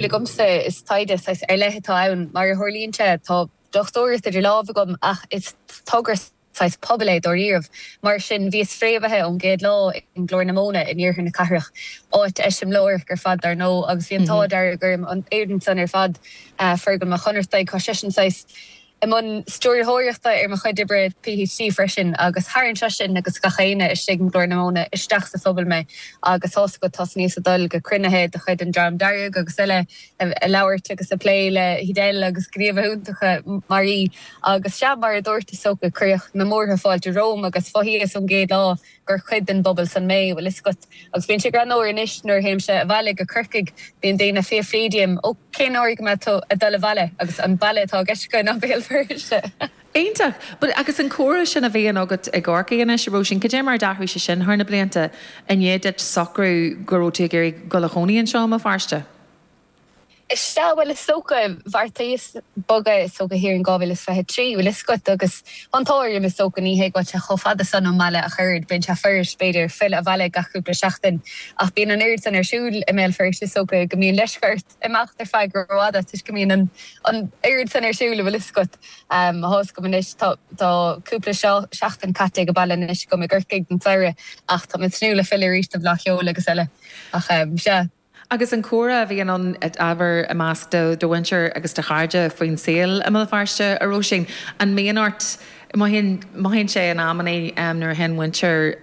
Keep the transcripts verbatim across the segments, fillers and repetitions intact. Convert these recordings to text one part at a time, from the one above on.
Agamsa is taighde saghas ar leith atá ann mar a tharlaíonn sé tá dochtúireacht idir lámha agam ach is togra saghas pobail é dáiríribh. Mar sin bhíos fréamhaithe ón gcéad lá i nGlór na Móna in iarthar na cathrach, áit eiseamláireach ar fad dar ndóigh agus bhí an t-ádh dearg orm an fhoireann san ar fad, Fergal Mac Chonartaigh, tá seisean saghas i mbun stiúrthóireachta ar mo chuid oibre PhD freisin agus tharraing seisean agus gach éinne istigh i nGlór na Móna isteach sa phobal mé agus tá's agat tosnaíos ag dul go cruinnithe de chuid an Dream Dearg agus eile ag labhairt agus ag plé le hEdel agus gníomhaithe iontacha mar í agus sea mar a dúirt is dócha cuireadh na múrtha fáilte romham agus mhothaíos ón gcéad lá gur cuid den bpobal san mé, bhfuil fhios agat. Agus bíonn sé greannmhar anois nuair a théimse abhaile go Corcaigh, bíonn daoine ag fiafraí díom, 'Ó, cén uair go mbeidh tú ag dul abhaile? Agus an baile atá i gceist acu ná Béal Feirste. Iontach! But agus an comhrá sin a bhíonn agat i gCorcaigh anois, a Róisín, cad é mar a d'athraigh sé sin thar na blianta i ndiaidh duit socrú go raibh tú ag iarraidh dul a chónaí anseo i mBéal Feirste? Is ea, bhuel is dócha, bheartaíos bogadh is dócha thiar in dhá mhíle is fiche trí, bhfuil fhios agat, agus an t-ádh orm is dócha, ní hé go bhfuil sé chomh fada san ón mbaile ach oiread, bíonn sé fuirist b'fhéidir filleadh abhaile gach cúpla seachtain ach bíonn an oiread san ar siúl i mBéal Feirste is dócha go mbíonn leisce ort imeacht ar feadh rófhada toisc go mbíonn an an oiread san ar siúl, bhfuil fhios agat. Tá fhios agam anois, tá tá cúpla seachtain caite ag baile anois agam i gCorcaigh don tsamhradh ach tá mé ag tnúth le filleadh arís don Fhleadh Cheoil agus eile ach sea. Agus an comhrá a bhíonn ann ábhar i measc do do mhuintir agus do chairde faoin saol i mBéal Feirste, a Róisín, an mbíonn ort, mothaíonn, mothaíonn sé in amannaí nuair a théann muintir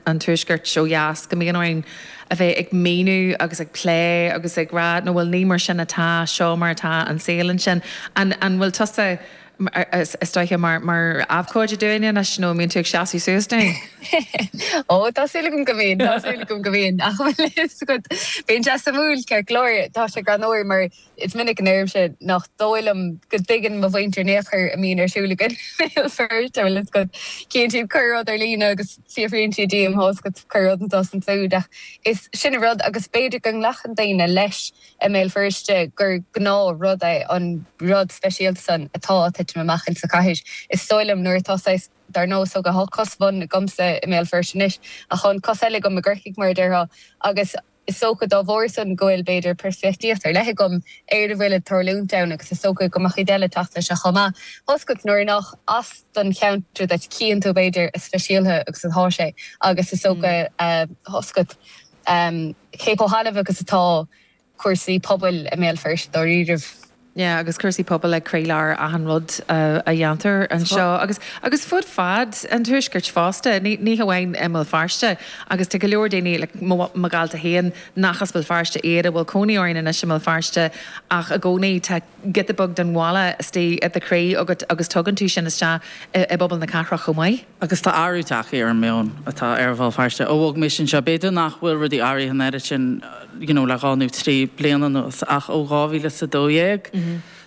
an tuaiscirt ó dheas go mbíonn orainn a bheith ag míniú agus ag plé agus ag rá no bhuel ní mar sin atá, seo mar atá an saol ansin. An, an bhfuil tusa is dóiche mar mar abhcóide dúinne anois nó an mbíonn tú ag seasamh suas dúinn? Ó, tá súil agam go mbíonn, tá súil agam go mbíonn ach bhfuil fhios agat, bíonn sé suimiúil ceart go leor, tá sé greannmhar mar is minic a ndeirimse nach dóigh liom go dtuigeann mo mhuintir in aon chor a mbíonn ar siúl againn i mBéal Feirste, bhfuil fhios agat, cíonn siad corr-rud ar líne agus fiafraíonn siad díom, tá fhios agat, corr-rud anseo is ansiúd ach is sin an rud agus b'fhéidir go nglacann daoine leis i mBéal Feirste gur gnáthrud é an rud speisialta san atá ag titim amach insa chathair. Is dóigh liom nuair atá saghas, dar ndóigh, so tá cos amháin agamsa i mBéal Feirste anois ach tá an cos eile agam i gCorcaigh mar a déarfá agus is dócha dá bharr san go bhfuil b'fhéidir peirspictíocht ar leith agam ar a bhfuil ag tarlúint ann agus is dócha go mbeadh cuid eile ag teacht leis seo chomh maith. Tá fhios agat nuair nach as don cheantar duit cíonn tú b'fhéidir a speisialta agus atá sé agus is dócha tá fhios agat cé chomh hannamh agus atá cúrsaí pobail i mBéal Feirste dáiríribh. Yeah, agus cúrsaí pobail ag croílár achan rud a dhéantar anseo agus agus fud fad an tuaiscirt fosta, ní ní hamháin i mBéal Feirste agus tá go leor daoine like mo mo ghaolta féin nach as Béal Feirste iad a bhfuil cónaí orainn anois i mBéal Feirste ach i gcónaí tá giota beag den bhaile istigh i do chroí agat agus tugann tú sin isteach i i bpobal na cathrach chomh maith. Agus tá athrú tagtha ar an meon atá ar Bhéal Feirste ó bhog mise anseo. B'fhéidir nach bhfuil rudaí athraithe an oiread sin you know le dhá nó trí bliana anuas ach ó dhá mhíle is a dó dhéag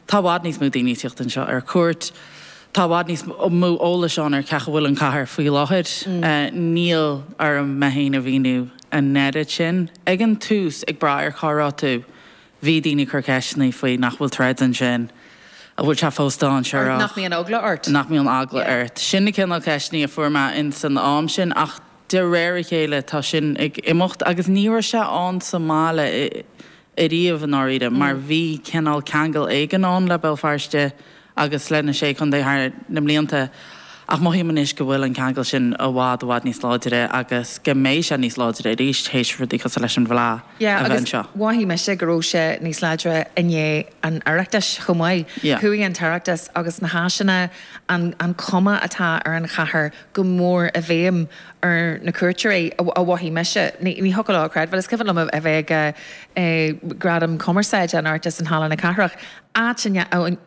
tá i bhfad níos mó daoine ag tíocht anseo ar cuairt, tá i bhfad níos mó eolais ann ar cén chaoi a bhfuil an chathair faoi láthair. Níl orm mé féin a mhíniú an oiread sin. Ag an tús, ag brath ar cá raibh tú, Bhí daoine ag cur ceisteanna faoi nach bhfuil troid ansin, an bhfuil sé fós dainséarach. Nach mbíonn eagla ort? Nach mbíonn eagla ort. Sin na cineál ceisteanna a fuair mé in san am sin ach de réir a chéile tá sin ag imeacht agus ní raibh sé ann sa mbaile ariamh i ndáiríre mar bhí cineál ceangal éigin ann le Béal Feirste agus le na Sé Chontae thar na mblianta ach mothaím anois go bhfuil an ceangal sin i bhfad i bhfad níos láidre agus go mbeidh sé níos láidre arís théis rudaí cosúil leis an bhFleadh Yeah a bheith agus anseo. mhothaigh mise go raibh sé níos láidre i ndiaidh an Oireachtais chomh maith. Yeah. Chuaigh an tOireachtas agus na háiseanna, an an cuma atá ar an chathair go mór i bhfeidhm ar na cuairteoirí, a mhothaigh mise. Ní ní thiocfadh leo a chreidbheáil. Is cuimhin liom a bheith ag Gradam Cumarsáide an Oireachtais in Halla na Cathrach áit a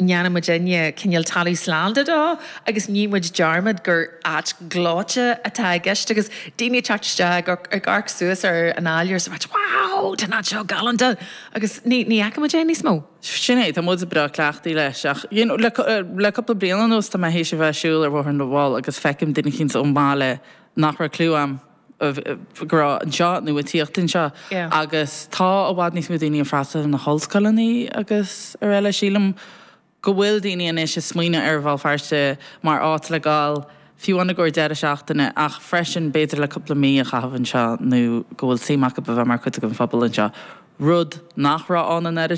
ndéanann muidinne cineál talamh slán de dó agus ní muid dearmad gur áit ghleoite atá i gceist agus daoine ag teacht isteach ag amharc suas ar an áiléar is ag ráit wow tá an áit seo galánta agus ní ní fheiceann muid é níos mó. Sin é, tá muid breá cleachtaithe leis ach you know le le cúpla bliain anuas tá mé théis a bheith ag siúl ar Bhóthar na bhFál agus feicim duine eicínt ón mbaile nach raibh cliú a'm go raibh anseo nó ag tíocht anseo agus tá i bhfad níos mó daoine ag freastal ar na hollscoileanna agus araile. Sílim go bhfuil daoine anois ag smaoineamh ar Bhéal Feirste mar áit le gabháil fiú amháin i gcomhair deireadh seachtaine ach freisin b'fhéidir le cúpla mí a chaitheamh anseo nó go bhfuil suim acu a bheith mar chuid den phobal anseo. Rud nach raibh ann an oiread